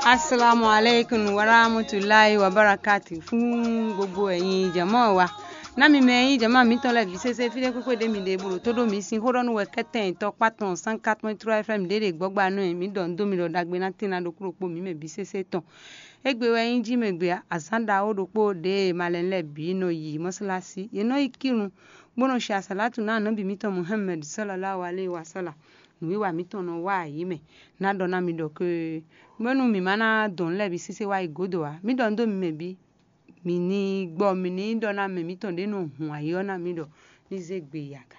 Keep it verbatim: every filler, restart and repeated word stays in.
Assalamu alaikum warahmatullahi wabarakatuh. Fún gbogbo ẹ̀yin jama wa. Ná mi mɛ yín jama mǐtɔn lɛ́ɛ bǐ sésé fí ɖé kpékpé ɖé mi ɖe bolo tó ɖó mi sín xó ɖɔ nú wɛ kɛ́tɛn tɔkpá tɔn cent quatre point trois F M ɖě ɖe gbɔ́gba nú ɛ. Mǐ ɖɔ nǔ dó mi ɖɔ ɖagbe ná tín ná ɖokpó ɖokpó mǐ mɛ bǐ sésé tɔn. Égbé wɛ nyí jí mɛ gbe azǎn ɖaxó ɖokpó ɖě e malɛnu lɛ́ɛ bǐ nɔ yi mɔ̌sálásí. Yě nɔ yi kírun, bó nɔ shi asǎlátǔ ná nɔ́ bǐ mǐtɔn Muhammed sɔ́lɔ́láhu aléhi wa sɔ́la. Nǔwiwa mǐtɔn nɔ wá ayǐ mɛ. Ná ɖɔ ná mi ɖɔ ké bónú mǐ má ná dɔn nǔ lɛ́ɛ bǐ sésé wá yi gǒdo ǎ. Mǐ ɖɔ nǔ dó mi mɛ bǐ, mǐ ní gbɔ mǐ ní ɖɔ ná mɛ mǐtɔn ɖě nɔ hun ayǐ ɔ́ ná mǐ ɖɔ ní zé gbe yi aga.